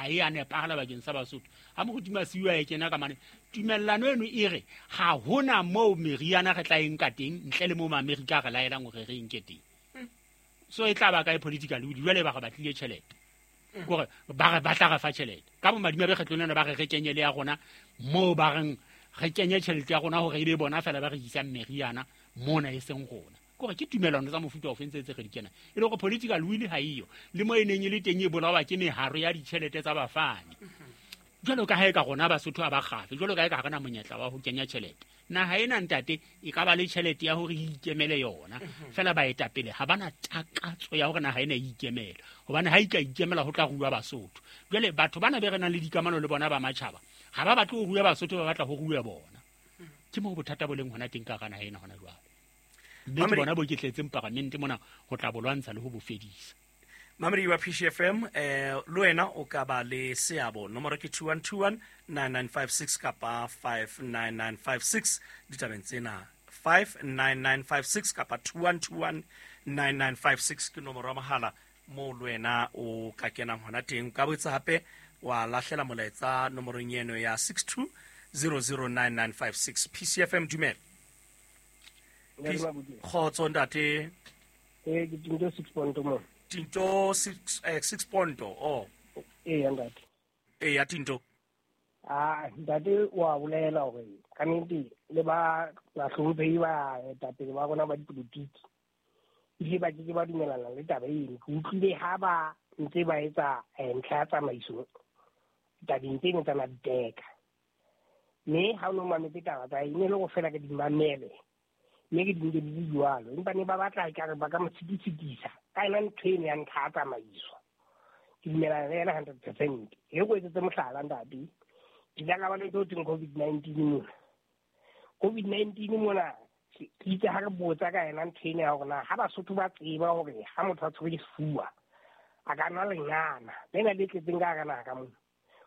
ha e a nepahala bakeng sa Basotho. Ha Moruti Masiu a e kena ka mane, tumellano eno e re ha hona moo meriana re tla e nka teng ntle le moo Maamerika a re laelang hore re e nke teng. So e tla ba kae political will? Jwale ba re batlile tjhelete, kore ba re ba tla re fa tjhelete ka bomadimabe. Kgetlong lena ba re re kenye le ya rona moo, ba reng re kenye tjhelete ya rona hore e be bona fela ba rekisang meriana mona, e seng rona. Kore ke tumelano tsa mofuta ofe ntse tse re di kenang, e le hore political will ha eyo, le mo e neng e le teng e bolawa ke meharo ya ditjhelete tsa bafani. Jwalo ka ha e ka rona Basotho a ba kgafe, jwalo ka e ka ha re na monyetla wa ho kenya tjhelete. Naha ena, ntate, e ka ba le tjhelete ya hore e ikemele yona fela. Baetapele ha bana takatso ya hore naha ena e ikemele, hobane ha e ka ikemela ho tla rua Basotho. Jwale batho bana be re nang le dikamano le bona ba matjhaba ha ba batle ho rua Basotho, ba batla ho rua bona. Ke moo bothata bo leng hona teng ka hara naha ena hona jwale, mme ke bona bo ke tletseng paramente mona ho tla bo lwantsha le ho bo fedisa. Mamedi wa PCFM, le wena o ka ba le seabo. Nomoro ke 2121 9956 kapa 59956 ditabeng tsena. 59956 kapa 2121 9956 ke nomoro ya mohala moo le wena o ka kenang hona teng. O ka botsa hape wa lahlela molaetsa nomorong eno ya 62 009956. PCFM, dumela. Kgotso, ntate. Ee, ke Tinto Six Ponto mo. Tinto Six, Six Ponto, oh. Ee, ntate. Ee, ya Tinto. Ah, ntate, wa bolela hore ka nnete le ba bahlomphehi ba etapele ba rona ba dipolotiki ebile ba keke ba dumelana le taba eno. Ke utlwile ha ba ntse ba etsa ntlha ya tsamaiso tabeng tseno tsa maditeka, mme ha o ne o mametse taba tsa e ne le go fela ke di mamele, mme ke di nke di le jwalo, empa ne ba batla ekare ba ka mo tshitisetisa ka yona ntho eno ya ntlha ya tsamaiso. Ke dumelana le yena 100%. E ko etsetse mohlala, ntate, ke ile ka ba le ntho e thweng COVID-19 mona. COVID-19 mona, ke itse ha re botsa ka yena ntho ena ya hore na ha Basotho ba tseba hore ha motho a tshwere ke sefuba a ka nwa lengana lena le tletseng ka hara naha ka mona.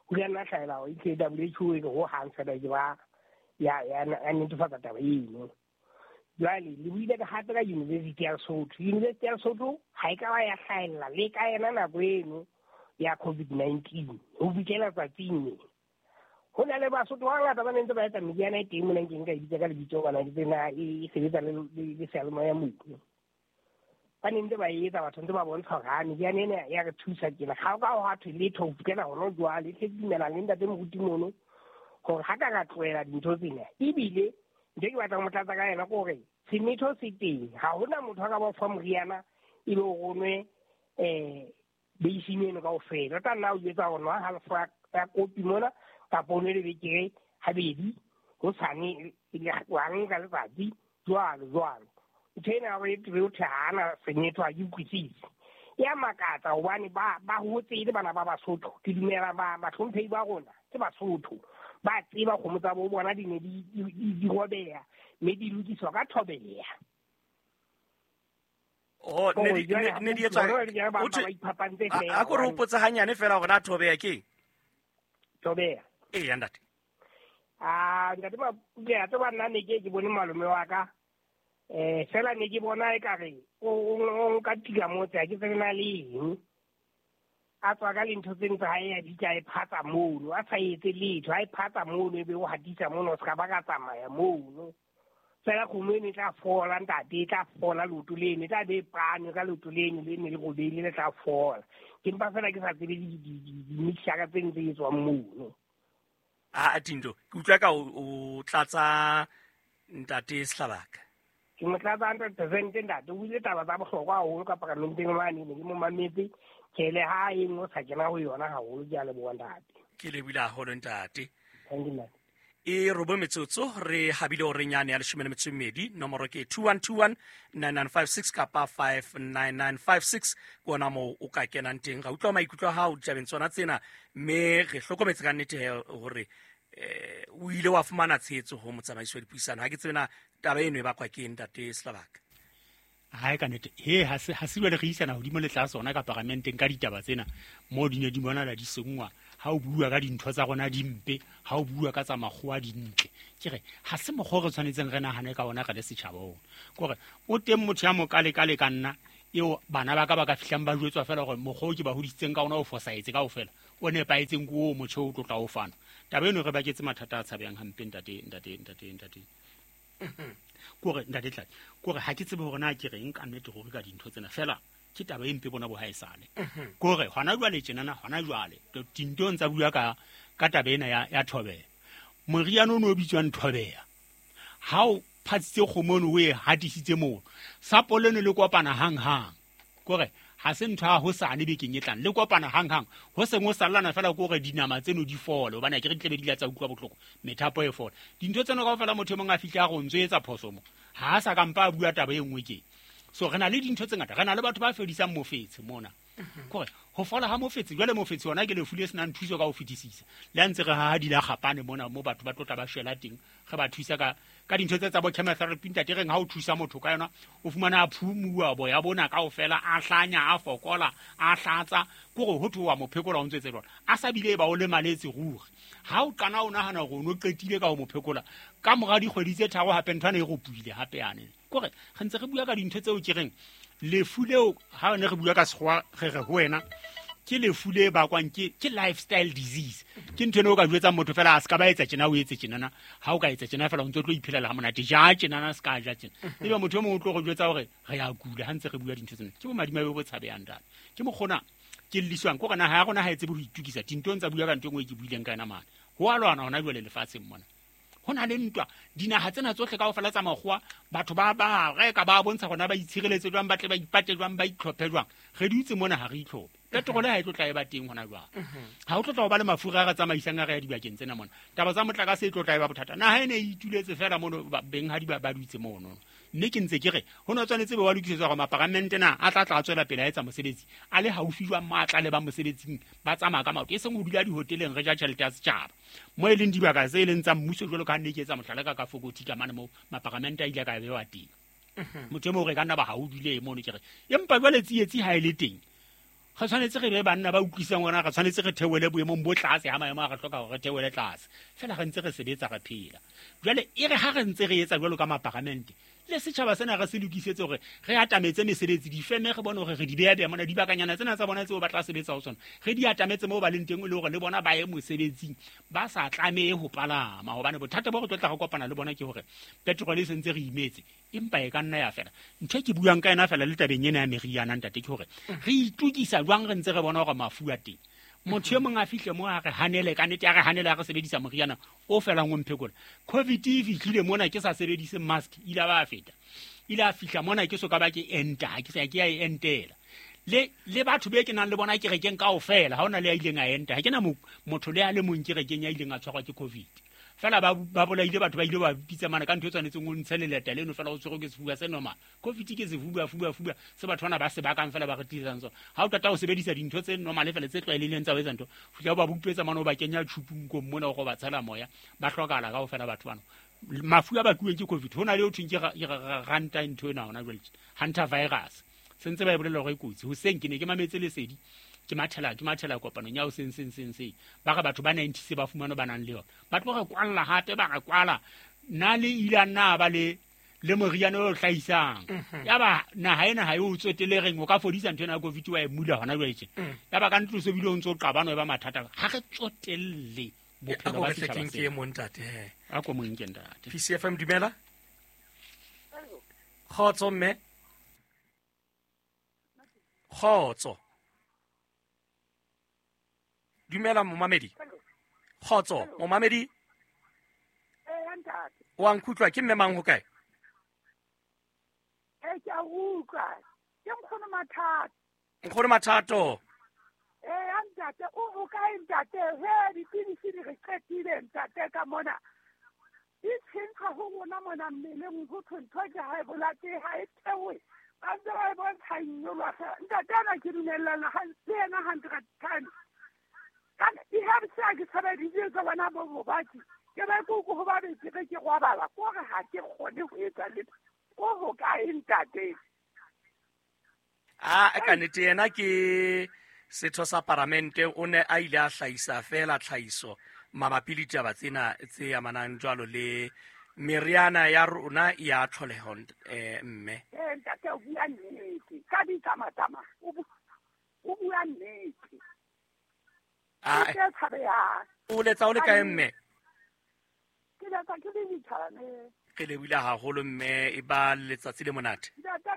Ho ile nna hlahela hore e WHO e re ho hang fela ke ba ya netefatsa taba eno. Jwale le buile ka hape ka University ya Lesotho. University ya Lesotho ha e ka ba ya hlahella le ka yena nako eno ya COVID-19 ho fihlela tsatsing le. Ho na le Basotho ba bangata ba ne ntse ba etsa meriana e teng mona, nkeng ka e bitsa ka lebitso hobane ke tsena e sebetsa le seyalemoya mono. Ba ne ntse ba e etsa, batho ntse ba bontsha hore ha meriana ena ya re thusa tjena. Ga o ka hwa thwe letho ho fihlela hona jwale. Hle, ke dumelang le ntate moruti mono hore ha ka ra tlohela dintho tsena. Ebile ntho e ke batlang ho mo tlatsa ka yona ke hore semetho se teng, ha hona motho a ka ba fa moriana ebe o ronwe beising eno kaofela. O tla nna o jwetsa hore nwa halofo ya kopi mona, kapa o nwe lebekere habedi hosane, wa nka letsatsi, jwalo jwalo. Ntho ena ya hore e o thwe ha ana semetho ha ke utlwisise, e a makatsa hobane ba hotse e le bana ba Basotho. Ke dumela ba bahlomphehi ba rona ke Basotho, ba tseba kgomo tsa bo bona di ne di robeha mme di lokiswa ka thobeha. Oh, ne di etswa a ko re hopotse hanyane fela hore na thobeha ke Thobeha. Ee, ya ntate. Ah, ntate Mapule, a tseba nna ne ke bone malome wa ka fela ne ke bona ekare o nka tika motse, ha ke tsebe na le eng a tswa ka lintho tse ntse ha e a bitsa e phatsa mono, a sa etse letho, ha e phatsa mono e be o hatisa mono, o se ka ba ka tsamaya mono fela. Kgomo eno e tla fola, ntate, e tla fola. Leoto leno e tla be e pane ka leoto leno le ne le robeile, le tla fola. Ke mpa fela ke sa tsebe di-mixture tse ntse e tswang mono. A Tinto, ke utlwa ka o tlatsa ntate Sehlabaka. Ke mo tlatsa 100%, ntate. O ile taba tsa bohlokwa haholo ka paramenteng mane, ne ke mo mametse ke le ha e nngwe sa kena ho yona haholo. Ke a leboha, ntate. Ke lebile haholo, ntate. Thank you, ntate. E robo metsotso re habile horeng yane ya 12. Nomoro ke 2121 9956 kapa 59956, ke ona moo o ka kenang teng ra utlwa maikutlo a hao ditabeng tsona tsena. Mme re hlokometse ka nnete he hore o ile wa fumana tshehetso ho motsamaisi wa dipuisano. Ha ke tsebe na taba eno e bakwa ke eng, ntate Sehlabaka. Ha e ka nnete he ha se jwale re isana hodimo le tlase ona ka paramenteng ka ditaba tsena moo di ne di bonala di senngwa. Ha o bua ka dintho tsa rona di mpe, ha o bua ka tsa makgowa di ntle. Ke re ha se mokgwa o re tshwanetseng re nahane ka ona re le setjhaba ona. Ke hore o teng motho ya mokalekale ka nna eo bana ba ka ba ka fihlang ba jwetswa fela hore mokgwa o ke ba hodisitseng ka ona o fosahetse kaofela. o nepahetseng ke o motjha o tlotla o fana. Taba eno re baketse mathata a tshabehang hampe ntate. Kore ntate Tladi, kore ha ke tsebe hore na ke reng ka nnete ruri ka dintho tsena fela ke taba e mpe bona bo haesale. Kore hona jwale tjenana hona jwale dintong tsa bua ka taba ena ya thobela. Moriana o no bitswang thobela. Ha o phatsitse kgomo o e hatisitse mono. Sapo leno le kopana hang-hang. Kore ha se ntho ya hosane bekeng e tlang le kopana hang-hang ho seng ho sallana fela ke hore dinama tseno di fole hobane akere di tlabe di la tsa utlwa bohloko methapo e fole. Dintho tseno kaofela motho e mong a fihle a re o ntso etsa phoso mo ha a sa ka mpa a bua taba e nngwe ke. So re na le dintho tse ngata, re na le batho ba fedisang mofetshe mona. Kore ho fola ha mofetshe, jwale mofetshe ona ke lefu le senang thuso ka ho fetisisa. Le ha ntse re haha dilakgapane mona mo batho ba tlotla ba shwela teng, re ba thusa ka dintho tse tsa bo chemotherapy ntate reng ha o thusa motho ka yona o fumana a phumuwa boya bona kaofela a hlanya a fokola a hlatsa kore ho thoa mophekola o ntse etse jwalo a sa bile ba o lemaletse ruri. Ha o qana o nahana hore o no qetile ka ho mophekola ka mora dikgwedi tse tharo hape ntho ena e ropuile hape yane. Kore re ntse re bua ka dintho tseo ke reng lefu leo ha ne re bua ka sekgowa re re ho wena ke lefu le bakwang ke lifestyle disease. Ke ntho eno o ka jwetsang motho fela a se ka ba etsa tjena o etse tjenana ha o ka etsa tjena fela o ntse o tlo iphelela ha monate ja tjenana se ka ja tjena. Ebe motho e mong o tlo go jwetsa hore re ya kula ha ntse re bua dintho tsena. Ke bomadimabe bo tshabehang ntate. Ke mokgona ke lliswang ke hore naha ya rona ha e tsebe ho itukisa dintong tsa bua ka ntho e nngwe e ke buileng ka yona mane. Ho a lwana hona jwale lefatsheng mona. Ho na le ntwa dinaha tsena tsohle kaofela tsa makgowa batho ba reka ba bontsha hore na ba itshireletse jwang ba tle ba ipate jwang ba itlhophe jwang. Re dutse mona ha re itlhophe. Petrole ha e tlo tla e ba teng hona jwang. Ha o tlo tla ho ba le mafura a re tsamaisang a re ya dibakeng tsena mona. Taba tsa motlakase e tlo tla e ba bothata. Naha e ne e ituletse fela mono benghadi ba dutse mono. Mme ke ntse ke re ho no tshwanetse be wa lokisetswa hore maparamente na a tla tla tswela pele a etsa mosebetsi a le haufi jwang mo a tla le ba mosebetsing ba tsamaya ka maoto e seng ho dula dihoteleng re ja tjhelete ya setjhaba mo e leng dibaka tse e leng tsa mmuso jwalo ka ha nne ke etsa mohlala ka Fokothi ka mane mo maparamente a ile ka bewa teng. Motho e mong re ka nna ba ha o dule mono ke re empa jwale tsietsi ha e le teng re tshwanetse re be banna ba utlwisang hore re tshwanetse re theohele boemong bo tlase ha maemo a re hloka hore re theohele tlase fela re ntse re sebetsa re phela. Jwale e re ha re ntse re etsa jwalo ka maparamente le setjhaba sena re se lokisetse hore re atametse mesebetsi difeme re bone hore re di beha beha mona dibakanyana tsena tsa bona tseo ba tla sebetsa ho tsona re di atametse moo ba leng teng e le hore le bona ba ye mosebetsing ba sa tlamehe ho palama hobane bothata bo re tlo tla re kopana le bona ke hore petrol e sentse re imetse empa e ka nna ya fela. Ntho e ke buang ka yona fela le tabeng ena ya meriana ntate ke hore re itukisa jwang re ntse re bona hore mafu a teng. Motho e mong a fihle mo a re hanele ka nnete a re hanele a re sebedisa moriana o felang o mphekola. Covid e fihlile mona ke sa sebedise mask ile ba feta. Ile a fihla mona ke so ka ba ke enta ke sa ke ya e entela. Le batho be ke nang le bona kerekeng kaofela ha ona le ya ileng a enta. Ha ke na motho le a le mong kerekeng ya ileng a tshwarwa ke Covid. Fela ba bolaile batho ba ile ba bitsa mana ka ntho e tshwanetseng o ntshe leleta leno fela o tshwerwe ke sefuba se normal. Covid ke sefuba fuba fuba se batho bana ba se bakang fela ba re tlisang sona. Ha o qeta ho sebedisa dintho tse normal fela tse tlwaelehileng tsa ho etsa ntho fihla ba bupetsa mana o ba kenya tjhupung kong mona o ba tshela moya ba hlokahala kaofela batho bana. Mafu a bakuweng ke Covid ho na le ho thweng ke ranta ntho ena hona jwale hunter virus se ntse ba e bolela hore e kotsi. Hoseng ke ne ke mametse lesedi ke mathela kopanong ya hoseng seng ba re batho ba 90 se ba fumana ba nang le yona ba tlo re kwalla hape ba re kwala nna le ile a nna ba le moriana o hlahisang ya ba naha ena ha e o tswetele reng o ka fodisa ntho ena ya Covid wa e mula hona jwale tje ya ba ka ntlo se bile o ntso qabana e ba mathata ha re tsotelle bophelo ba setjhaba se ke mo ntate a ko mo nke ntate. PCFM dumela kgotso mme kgotso dumela momamedi kgotso momamedi wa nkutlwa ke mme mang ho kae? Ke a utlwa ke nkgono Mathato. Nkgono Mathato ntate o kae ntate? He dipidisi di re qetile ntate ka mona di tshentshwa ho rona mona mmeleng ho thwe ntho ke ha e bolate ha e theohe ba ntse ba e bontsha nyolwa fela ntate ana ke dumellana le yena 100 times. Ka di-herbs a ke sebedisitse tsa bona bo bobatsi ke ba ke ho ba be ke re ke robala kore ha ke kgone ho etsa letho ko ho kae ntate? A ka nnete yena ke setho sa paramente o ne a ile a hlahisa fela tlhahiso mabapi le ditaba tsena tse amanang jwalo le meriana ya rona ya tlholeho mme ntate o bua nnete ka ditsamatama o bua nnete. Ke tse tshabehang. O letsa o le kae mme? Ke letsa ke le dithabeng. Re lebohile haholo mme, e ba letsatsi le monate. Ntate a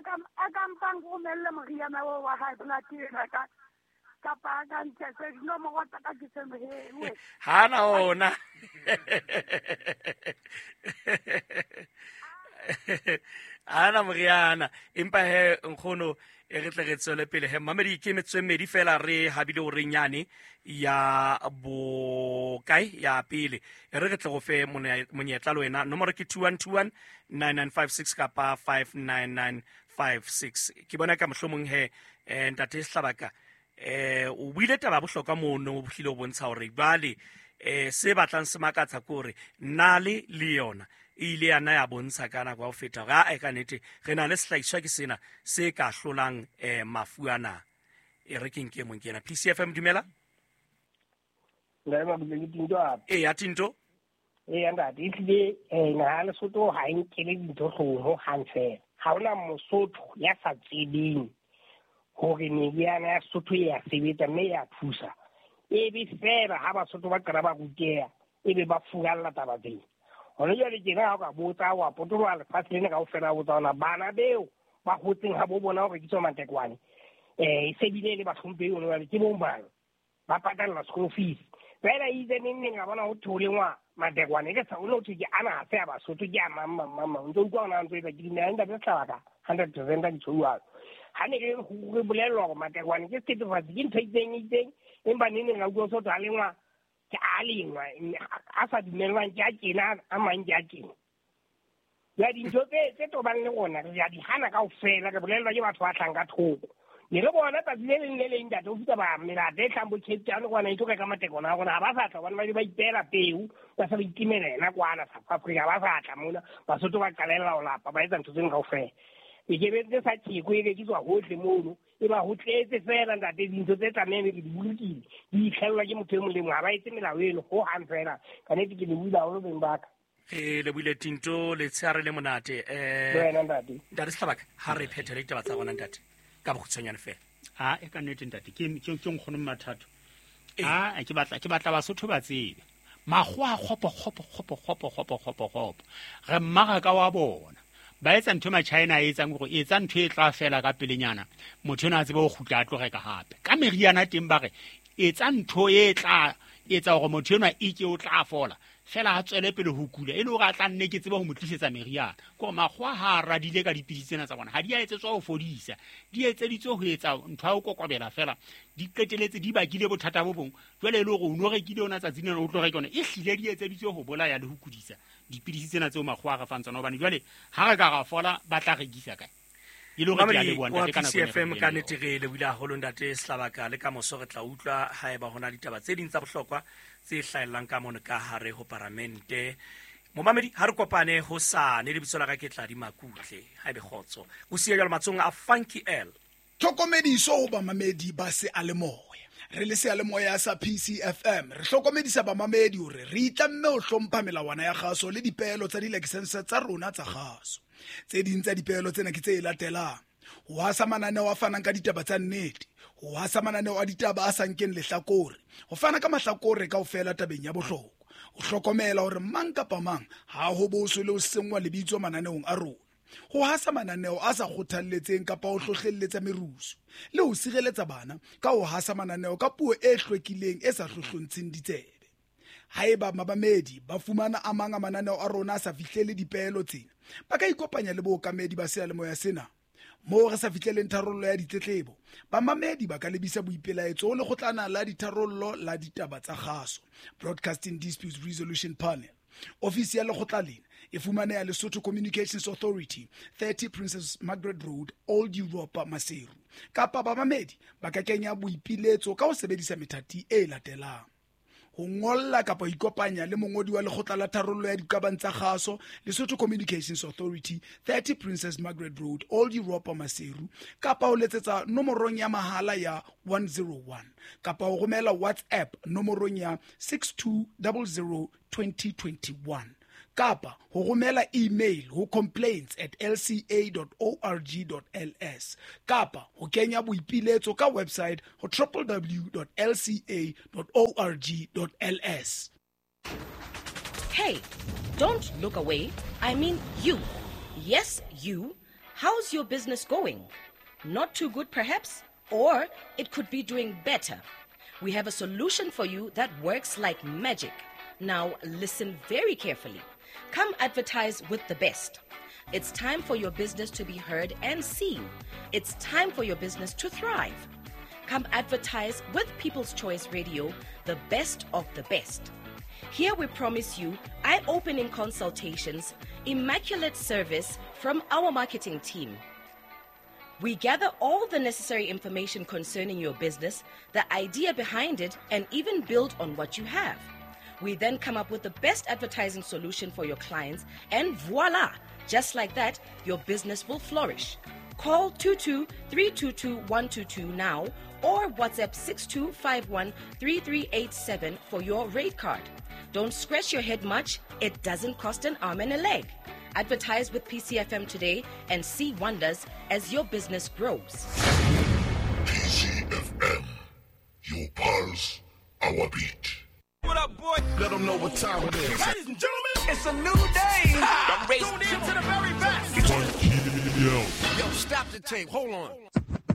ka mpang romelle moriana oo wa high blood ena ka kapa a ka ntshetse dinomoro tsa ka ke se ha na ona. Ana moriana empa he nkgono e re tle re tswele pele he mamedi ke metswe mmedi fela re habile o renyane ya bokae ya pele e re re tle go fe monyetla le wena. Nomoro ke 2121 9956 kapa 59956. Ke bona ka mohlomong he ntate Sehlabaka o buile taba bohlokwa mono, o hlile o bontsha hore jwale se batlang se makatsa ke hore nale le yona e ile ya na ya bontsha ka nako ya ho feta hore a ka nnete re na le sehlahiswa ke sena se ka hlolang mafu ana. E re ke nke mong ke ena. PCFM dumela. E ya Tinto. E ntate e tlile naha Lesotho ha e nkele dintho hloohong ho hang fela. Ha hona Mosotho ya sa tsebeng hore meriana ya Sotho e ya sebetsa mme ya thusa. E be fela ha Basotho ba qala ba ruteha e be ba furalla taba tsena. Hona jwale tjena ha o ka botsa wa potoloha lefatshe lena kaofela, o botsa hona bana beo ba hotseng ha bo bona hore ke tswa Matekwane. E se bile le bahlomphehi hona jwale ke bo mang ba patalla school fees. Fela itse neng neng a bona ho theolengwa Matekwane ke sa o no thwe ke ana ha se a Basotho ke a mang mang mang mang. Ntse utlwa hona ntse etsa ke dumela ntate Sehlabaka 100% a ke jwalo. Ha ne ke re bolellwa hore Matekwane ke sethethefatsi ke ntho e itseng itseng, empa neng neng a utlwa Sotho a lengwa ke a lengwa a sa dumellwang ke a tjena a mang ke a tjena. Ya dintho tse tobang le rona re a di hana kaofela, re bolellwa ke batho ba hlang ka thoko. Ne re bona tsatsi le leng le leng ntate o fihla ba melata e hlahang bo Cape Town kwana e tlo reka Matekwane a rona, ha ba sa tla hobane ba ile ba ipeela peo, ba se ba itimela yena kwana South Africa, ha ba sa tla mona. Basotho ba qalella ho lapa ba etsa ntho tseno kaofela. E ke be tse sa tjeko e rekiswa hohle mono, e ba ho tletse fela ntate dintho tse tlamehang re di bolokile di itlhellwa ke motho e mong le mong, ha ba etse melao eno ho hang fela. Ka nnete ke lebohile haholo beng ba ka. Re lebohile Tinto, letshehare le monate. Le wena ntate. Ntate Sehlabaka, ha re phethele ditaba tsa rona ntate ka bokgutshwanyane fela. A e ka nnete ntate ke nkgono Mathato. A ke batla Basotho ba tsebe makgowa a kgopo kgopo kgopo kgopo kgopo kgopo kgopo. Re mmaraka wa bona ba etsa ntho ma-China a etsang hore etsa ntho e tla fela ka pelenyana, motho ena a tsebe ho kgutla a tlo reka hape. Ka meriana teng ba re etsa ntho e tla etsa hore motho enwa e ke o tla fola fela a tswele pele ho kula, e le hore a tla nne ke tsebe ho mo tlisetsa meriana. Ke hore makgowa ha a radile ka dipidisi tsena tsa bona, ha di a etsetswa ho fodisa, di etseditswe ho etsa ntho ya ho kokobela fela, di qeteletse di bakile bothata bo bong. Jwale e le hore o no rekile yona tsatsing lena o tlo reka yona, e hlile di etseditswe ho bolaya le ho kudisa dipidisi tsena tseo makgowa a re fang tsona, hobane jwale ha re ka ra fola ba tla rekisa kae? E le hore ke a leboha ntate ka nako ena. PCFM ka nnete re lebohile haholo ntate Sehlabaka, le ka moso re tla utlwa haeba hona ditaba tse ding tsa bohlokwa tse hlahellang ka mono ka hare ho paramente. Momamedi, ha re kopane hosane, lebitso la ka ke Tladi Makutle. Haebe kgotso. O siya jwalo matsohong a Funky L. Tlhokomediso ho bamamedi ba seyalemoya. Re le seyalemoya sa PCFM re hlokomedisa bamamedi hore re itlamme ho hlompha melawana ya kgaso le dipeelo tsa dilakesense tsa rona tsa kgaso. Tse ding tsa dipeelo tsena ke tse latelang: ho hasa mananeo a fanang ka ditaba tsa nnete, ho hasa mananeo a ditaba a sa nkeng lehlakore, ho fana ka mahlakore kaofela tabeng ya bohlokwa, ho hlokomela hore mang kapa mang ha ho boswe le ho senngwa lebitso mananeong a rona, ho hasa mananeo a sa kgothalletseng kapa ho hlohlelletsa merusu, le ho sireletsa bana ka ho hasa mananeo ka puo e hlwekileng e sa hlohlontsheng ditsebe. Haeba mabamedi ba fumana a mang a mananeo a rona a sa fihlele dipeelo tsena, ba ka ikopanya le bookamedi ba seyalemoya sena. Moo re sa fihleleng tharollo ya ditletlebo, bamamedi ba ka lebisa boipelaetso ho lekgotlana la ditharollo la ditaba tsa kgaso, Broadcasting Disputes Resolution Panel. Ofisi ya lekgotla lena e fumaneha Lesotho Communications Authority, 30 Princess Margaret Road, Old Europa, Maseru. Kapa bamamedi ba ka kenya boipiletso ka ho sebedisa methati e latelang: ho ngolla kapa ho ikopanya le mongodi wa lekgotla la tharollo ya diqabang tsa kgaso, Lesotho Communications Authority, 30 Princess Margaret Road, Old Europa, Maseru, kapa ho letsetsa nomorong ya mahala ya 101, kapa ho romela WhatsApp nomorong ya 6200 2021, Kapa ho romela email ho complaints@lca.org.ls kapa ho kenya boipiletso ka website ho www.lca.org.ls. Hey, don't look away. I mean you. Yes, you. How's your business going? Not too good, perhaps? Or it could be doing better. We have a solution for you that works like magic. Now, listen very carefully. Come advertise with the best. It's time for your business to be heard and seen. It's time for your business to thrive. Come advertise with People's Choice Radio, the best of the best. Here we promise you eye-opening consultations, immaculate service from our marketing team. We gather all the necessary information concerning your business, the idea behind it, and even build on what you have. We then come up with the best advertising solution for your clients, and voila! Just like that, your business will flourish. Call 22-322-122 now or WhatsApp 6251-3387 for your rate card. Don't scratch your head much. It doesn't cost an arm and a leg. Advertise with PCFM today and see wonders as your business grows. PCFM, your pulse, our beat. What up, boy? Let them know what time it is. Ladies and gentlemen, it's a new day. I'm racing to the very best. Yo, stop the tape. Hold on.